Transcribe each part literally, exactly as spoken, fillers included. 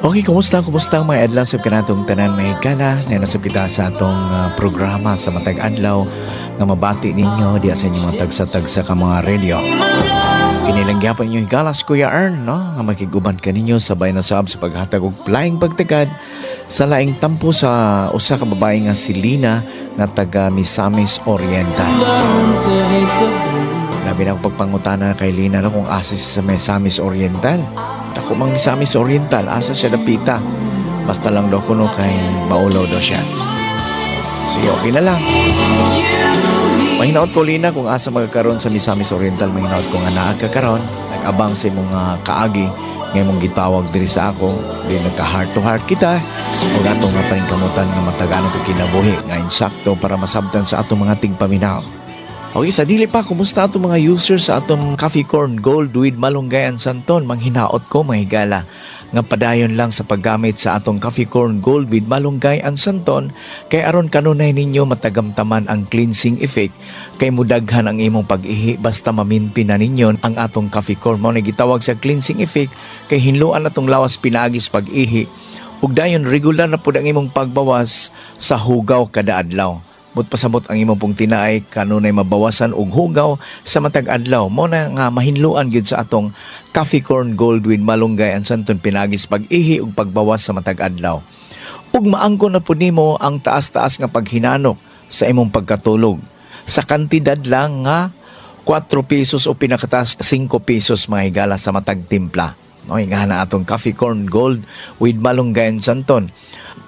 Okay, kumusta? Kumusta ang mga adlaw sa kanatong tanan, mga higala? Nanasab kita sa atong ah, programa sa matag adlaw nga mabati ninyo diya sa inyong mga tagsa-tagsa ka mga radio. Kini lang gyapon inyong higala si Kuya Ern, no? Nga makiguban kaninyo sabay na sab sa paghatag og laing pagtagad sa laing tampo sa usa ka babae nga si Lina nga taga Misamis Oriental. Labi na ang pagpangutana kay Lina, no, kung asa siya sa Misamis Oriental. Dako mang Misamis Oriental, asa siya dapita? Basta lang daw kuno kay maulaw daw siya. Sige, okay na lang. Mahinaot ko, Lina, kung asa magkaroon sa Misamis Oriental, mahinaot ko nga naa ka karon. Nag-abang sa imong uh, kaagi nga imong gitawag diri sa ako, di nagka heart to heart kita ug atong nga paningkamutan nga matagaan itong kinabuhi nga insakto para masabtan sa atong mga tigpaminaw. Okay, sa dili pa, kumusta atong mga users sa atong Coffee Corn Gold with Malunggay and Santon? Manghinaot ko, mga higala, nga padayon lang sa paggamit sa atong Coffee Corn Gold with Malunggay and Santon kay aron kanunay ninyo matagamtaman ang cleansing effect kay mudaghan ang imong pag-ihi basta maminpi na ninyo ang atong coffee corn. Mao na gitawag sa cleansing effect kay hinluan atong lawas pinaagis pag-ihi ug dayon regular na pud ang imong pagbawas sa hugaw kada adlaw. But pasabot ang imong pong tinaay kanunay mabawasan og hugaw sa matag adlaw. Mo na nga mahinluan gyud sa atong Coffee Corn Gold with Malunggay and Santon pinaagis pag-ihi ug pagbawas sa matag adlaw. Ug maangko na pud nimo ang taas-taas nga paghinanok sa imong pagkatulog. Sa kantidad lang nga kuwatro pesos o pinakataas singko pesos, mga higala, sa matag timpla. No, nga na atong Coffee Corn Gold with Malunggay and Santon.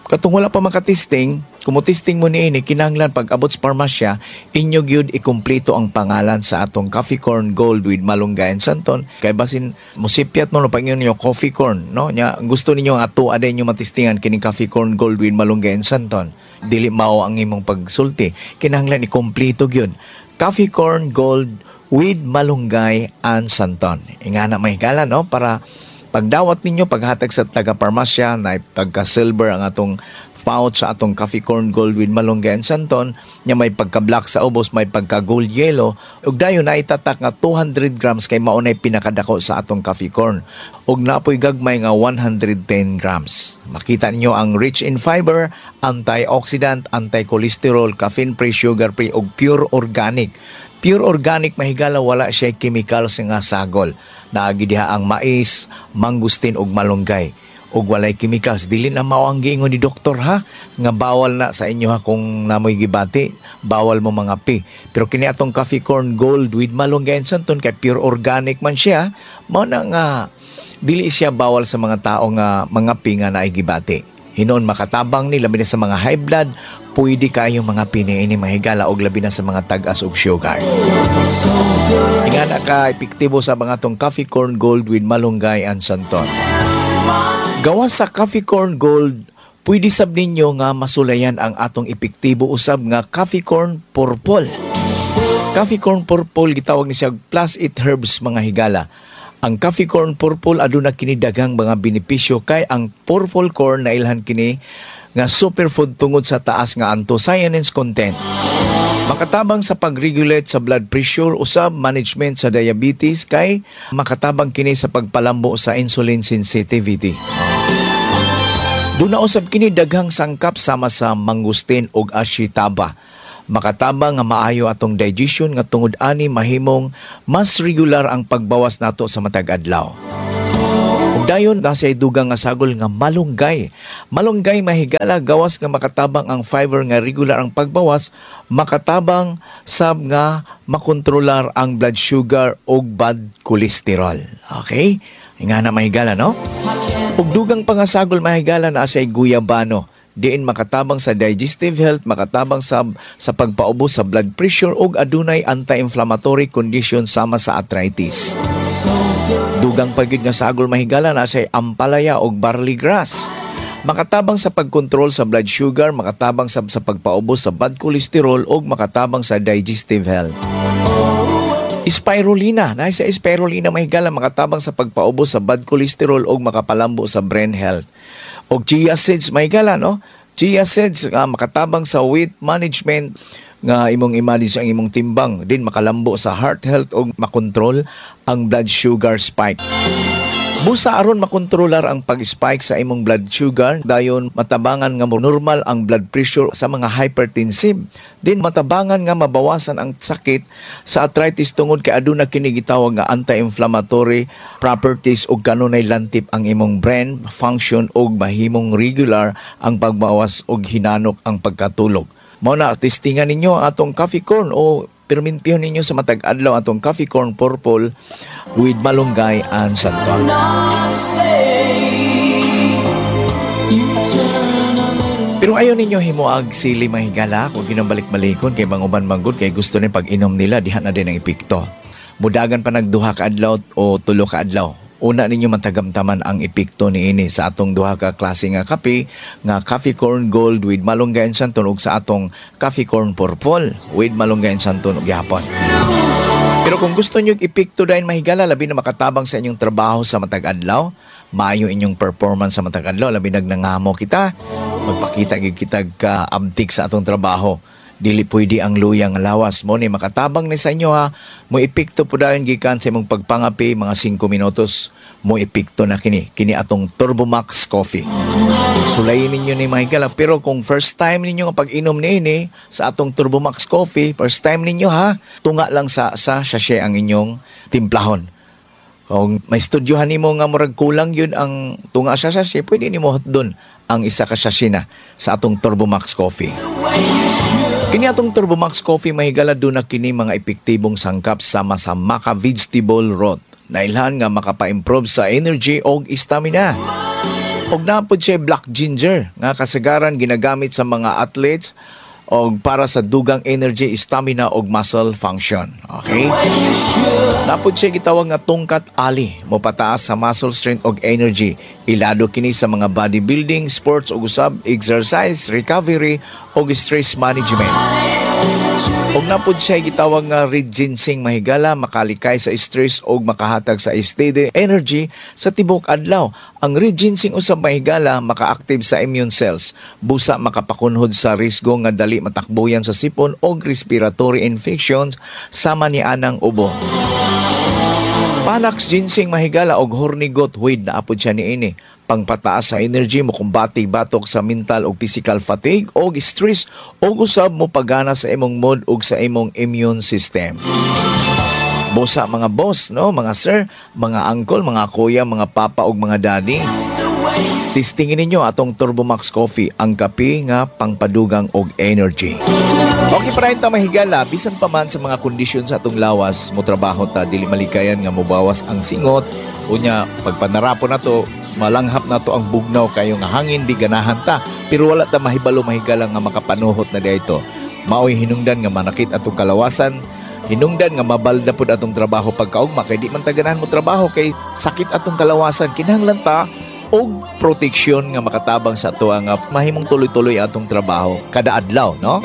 Katong wala pa makatesting, kung mo-testing mo niini, kinahanglan pag abot sa parmasya, inyo gyud ikumpleto ang pangalan sa atong Coffee Corn Gold with Malunggay and Santon. Kay basin musipyat mo no pag inyo coffee corn, no? Nya gusto ninyo ang ato aday inyo matestingan kining Coffee Corn Gold with Malunggay and Santon. Dili mao ang imong pagsulti. Kinahanglan ikumpleto gyud. Coffee Corn Gold with Malunggay and Santon. Ingana, mga higala, no, para pagdawat ninyo paghatag sa taga parmasya na pagka silver ang atong pouch sa atong Coffee Corn Gold with Malunggay and Santon nya may pagka black sa ubos, may pagka gold yellow ug dayon na itatak nga two hundred grams kay mao nay pinakadako sa atong coffee corn ug napoy gagmay nga one hundred ten grams. Makita ninyo ang rich in fiber, antioxidant, anti-cholesterol, caffeine free, sugar free ug pure organic. Pure organic, mahigala, wala siya chemicals nga sagol. Naagi diha ang mais, mangustin ug malunggay ug walay chemicals. Dili na mao ang giingon ni doktor ha nga bawal na sa inyo ha. Kung namoy gibati, bawal mo mangape. Pero kini atong Coffee Corn Gold with Malunggay and Santon kay pure organic man siya, mao na nga dili siya bawal sa mga tao nga mangape nga naay gibati. Hinuon makatabang ni labi na sa mga high blood, pwede kayong mangape niini, mga higala, og labi na sa mga tag-as og sugar. Ingana ka epektibo sa mga atong Coffee Corn Gold with Malunggay and Santon. Gawas sa Coffee Corn Gold, pwede sab ninyo nga masulayan ang atong epektibo usab nga Coffee Corn Purple. Coffee Corn Purple gitawag ni siya Plus It Herbs, mga higala. Ang Coffee Corn Purple aduna kini daghang mga benepisyo kay ang purple corn nailhan kini nga superfood tungod sa taas nga anthocyanins content. Makatabang sa pag-regulate sa blood pressure, usab management sa diabetes kay makatabang kini sa pagpalambo sa insulin sensitivity. Duna usab kini daghang sangkap sama sa mangustin ug ashitaba. Makatabang nga maayo atong digestion nga tungod ani mahimong mas regular ang pagbawas nato sa matag adlaw. Ug dayon na siya dugang nga sagol nga malunggay. Malunggay, mahigala, gawas nga makatabang ang fiber nga regular ang pagbawas, makatabang sab nga makontrolar ang blood sugar ug bad cholesterol. Okay? Nga na, mahigala, no? Ug dugang pangasagol, mahigala, na siya guyabano diin makatabang sa digestive health, makatabang sa sa pagpaubos sa blood pressure ug adunay anti-inflammatory condition sama sa arthritis. Dugang pa gyud nga sagol, mahigala, na siya ampalaya og barley grass. Makatabang sa pagkontrol sa blood sugar, makatabang sa, sa pagpaubos sa bad cholesterol ug makatabang sa digestive health. Spirulina, na sa spirulina, mahigala, makatabang sa pagpaubos sa bad cholesterol ug makapalambo sa brain health. Og chia seeds, mahigala, no? Chia seeds nga makatabang sa weight management nga imong i-manage ang imong timbang din, makalambo sa heart health ug makontrol ang blood sugar spike. Busa aron makontrolar ang pag-spike sa imong blood sugar, dayon matabangan nga mo normal ang blood pressure sa mga hypertensive. Din matabangan nga mabawasan ang sakit sa arthritis tungod kay aduna kini gitawag nga anti-inflammatory properties ug kanunay lantip ang imong brain function ug mahimong regular ang pagbawas og hinanok ang pagkatulog. Mao na, testingan ninyo ang atong coffee corn o permintihon ninyo sa matag adlaw atong coffee corn purple with malunggay and santon. Not say you turn a little Pero ayaw ninyo himuag sili, mga higala, kung ginabalik-balikon kay mga uban manggod kay gusto ni pag inom nila diha na din ang epekto. Mudagan pa nagduha ka adlaw o tulo ka adlaw. Una ninyo matagamtaman ang epekto niini sa atong duha ka klase nga kape nga coffee corn gold with malunggay and santon ug sa atong coffee corn purple with malunggay and santon ug gihapon. Pero kung gusto niyo epekto dayon, mahigala, labi na makatabang sa inyong trabaho sa matag adlaw, maayo inyong performance sa matag adlaw, labi nag nangamo kita, magpakita gyud kita ka abtik sa atong trabaho. Dili pwede ang luyang lawas mo ni makatabang ni sa inyo ha. Mo epekto po dayon gikan sa imong pagpangapi, mga singko minutos mo epekto na kini. Kini atong Turbo Max Coffee. Sulayin ninyo ni, mga higala. Pero kung first time ninyo nga pag-inom niini sa atong Turbo Max Coffee, first time ninyo ha, tunga lang sa sa sachet ang inyong timplahon. Kung may studyohan nimo nga murag kulang yun ang tunga sa sachet, pwede nimo hotdon ang isa ka sachet na sa atong Turbo Max Coffee. Kini atong Turbo Max Coffee, mahigala, duna kini mga epektibong sangkap sama sa maca vegetable root. Nailhan nga makapa-improve sa energy og stamina. Og naa pod siya black ginger nga kasagaran ginagamit sa mga athletes og para sa dugang energy, stamina og muscle function. Okay? Naa pod siya gitawag nga tongkat ali, mo pataas sa muscle strength og energy. Ilado kini sa mga bodybuilding, sports ug usab exercise, recovery og stress management. Og naa pod siya gitawag nga red ginseng, mahigala, makalikay sa stress og makahatag sa steady energy sa tibok adlaw. Ang red ginseng usab, mahigala, maka-active sa immune cells. Busa makapakunhod sa risgo nga dali matakbuyan sa sipon og respiratory infections sama ni anang ubo. Panax ginseng, mahigala, og horny goat weed naa pod siya niini. Pangpataas sa energy, mo kumbati batok sa mental ug physical fatigue og stress og usab mo pagana sa imong mood ug sa imong immune system. Busa mga boss, no, mga sir, mga uncle, mga kuya, mga papa ug mga daddy. Testingin ninyo atong Turbo Max Coffee, ang kape nga pangpadugang og energy. Okay pa rin ta, mahigala, bisan pa man sa mga kondisyon sa atong lawas, mo trabaho ta, dili malikayan nga mobawas ang singot, unya pagpanarapo na to, malanghap na to ang bugnaw kayo nga hangin, di ganahan ta. Pero wala ta mahibalo, mahigala, nga makapanuhot na dito. Maoy hinungdan nga manakit atong kalawasan, hinungdan nga mabalda pud atong trabaho pagkaugma kay di man ta ganahan mo trabaho kay sakit atong kalawasan. Kinahanglan ta og proteksyon nga makatabang sa ato nga mahimong tuloy-tuloy atong trabaho kada adlaw, no?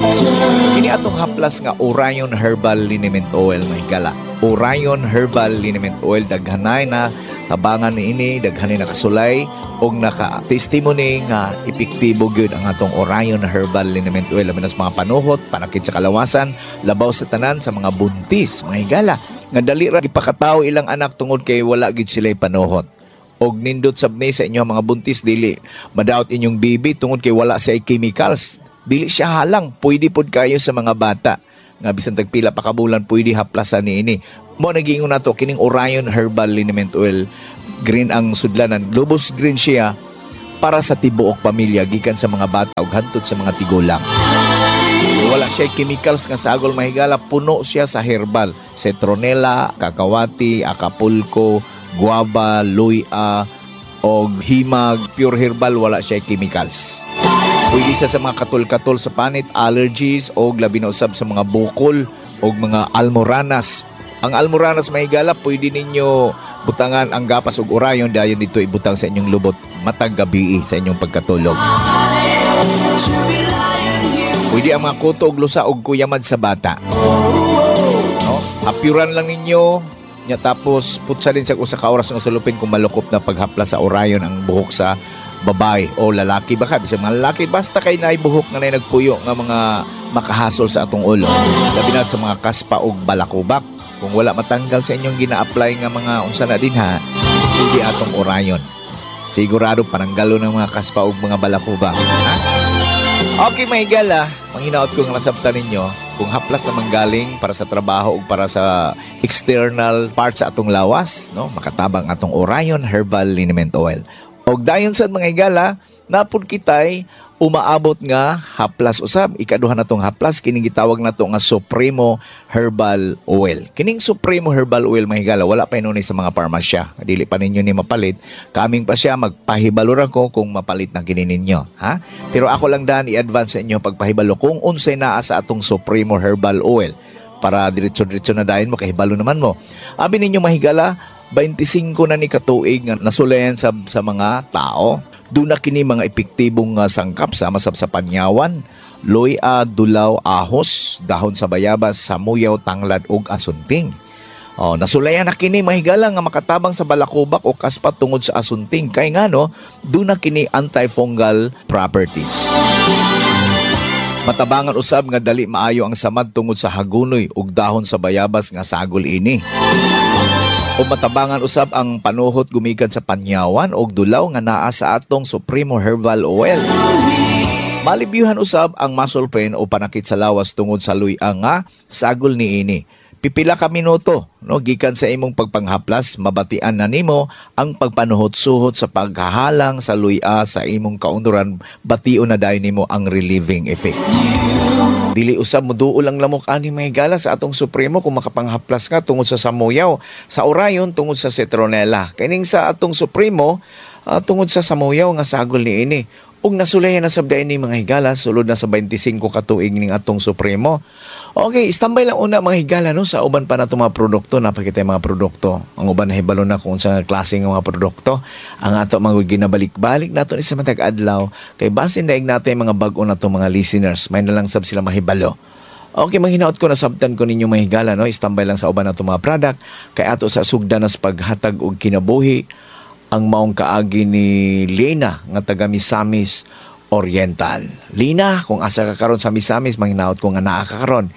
Kini atong haplas nga Orion Herbal Liniment Oil, mahigala. Orion Herbal Liniment Oil, daghanay na tabangan niini, daghanay nakasulay og naka testimony nga epektibo gyud ang atong Orion Herbal Liniment Oil labi na sa mga panuhot, panakit sa kalawasan, labaw sa tanan sa mga buntis, mga higala, nga dali ra gipakatawo ilang anak tungod kay wala gid sila panuhot. Og nindot sab ni sa inyo mga buntis, dili madaot inyong baby tungod kay wala siya chemicals, dili siya halang, pwede pod kayo sa mga bata nga bisan tagpila pa ka bulan pwede haplasan niini. Mo nagiingon nato kining Orion Herbal Liniment Oil, green ang sudlanan, lubos green siya, para sa tibuok pamilya gikan sa mga bata ug hantod sa mga tigulang. Wala siya chemicals nga sagol, mahigala, puno siya sa herbal. Citronella, kakawati, acapulco, guava, luya, og himag, pure herbal, wala siya chemicals. Pwede siya sa mga katol-katol sa panit, allergies, og labi na usab sa mga bukol, og mga almoranas. Ang almoranas, mahigala, pwede ninyo butangan ang gapas og Orion, dayon dito ibutang sa inyong lubot matag gabi sa inyong pagkatulog. Pwede ang mga kuto og lusa og kuyamad sa bata. No? Hapyuran lang ninyo nya, tapos putsa din sa usa ka oras nga sulupin kung malukop na paghapla sa Orion ang buhok sa babae o lalaki baka bisag mga lalaki, basta kay naay buhok nga naay nagpuyo nga mga makahasol sa atong ulo, labi na sa mga kaspa og balakubak kung wala matanggal sa inyong gina-apply nga mga unsa na din ha. Pwede atong Orion. Sigurado pananggalo ng mga kaspa ug mga balakubak. Ha? Okay, mga higala, manghinaot ko nga nasabtan ninyo kung haplas na manggaling para sa trabaho o para sa external parts sa atong lawas, no? Makatabang atong Orion Herbal Liniment Oil. Og dayon sa mga higala, napud kitay umaabot nga haplas usab. Ikaduha natong haplas, kining gitawag nato nga Supremo Herbal Oil. Kining Supremo Herbal Oil, mga higala, wala pa inuni sa mga parmasya. Dili pa ninyo ni mapalit. Kaming pa siya, magpahibalo ra ko kung mapalit na kini ninyo, ha? Pero ako lang daan i-advance sa inyo pagpahibalo kung unsay naa sa atong Supremo Herbal Oil para diretso-diretso na dayon mo kahibalo naman mo. Abi ninyo, mahigala, twenty-five na ni katuig nga nasulayan sa sa mga tao. Doon na kini mga epektibong uh, sangkap sama sa, sa panyawan, luya, dulaw, ahos, dahon sa bayabas, samuyaw, tanglad ug asunting. Oh, nasulayan na kini, mahigala, nga makatabang sa balakubak o kaspa tungod sa asunting kay ngano doon na kini antifungal properties. Matabangan usab nga dali maayo ang samad tungod sa hagunoy ug dahon sa bayabas nga sagol ini. O matabangan usab ang panuhot gumikan sa panyawan og dulaw nga naa sa atong Supremo Herbal Oil. Malibyuhan usab ang muscle pain o panakit sa lawas tungod sa luya nga sagol niini. Pipila ka minuto, no, gikan sa imong pagpanghaplas, mabatian na nimo ang pagpanuhot-suhot sa paghahalang sa luya sa imong kaunduran, bation na dayon nimo ang relieving effect. Dili usab muduol ang lamok ani, mga higala, sa atong Supremo kung makapanghaplas ka tungod sa samuyaw. Sa Orion tungod sa citronella. Kining sa atong Supremo ah, tungod sa samuyaw nga sagol niini. Ug nasulayan na sabday ni, mga higala, sulod na sa twenty-five ka tuig ning atong Supremo. Okay, standby lang una, mga higala, no, sa uban pa nato mga produkto, napakita yung mga produkto. Ang uban nahibalo na kung sa klase ng mga produkto. Ang ato mga ginabalik-balik nato ni sa matag adlaw kay basin daig nato yung mga bag-o nato mga listeners, may na lang sab sila mahibalo. Okay, manghinaot ko nasabtan ko ninyo, mga higala, no? Standby lang sa uban nato mga product kay ato sa sugdan nas paghatag og kinabuhi ang maong kaagi ni Lena nga taga Misamis Oriental. Lina, kung asa ka karon sa Misamis, manghinaot ko nga naa ka karon.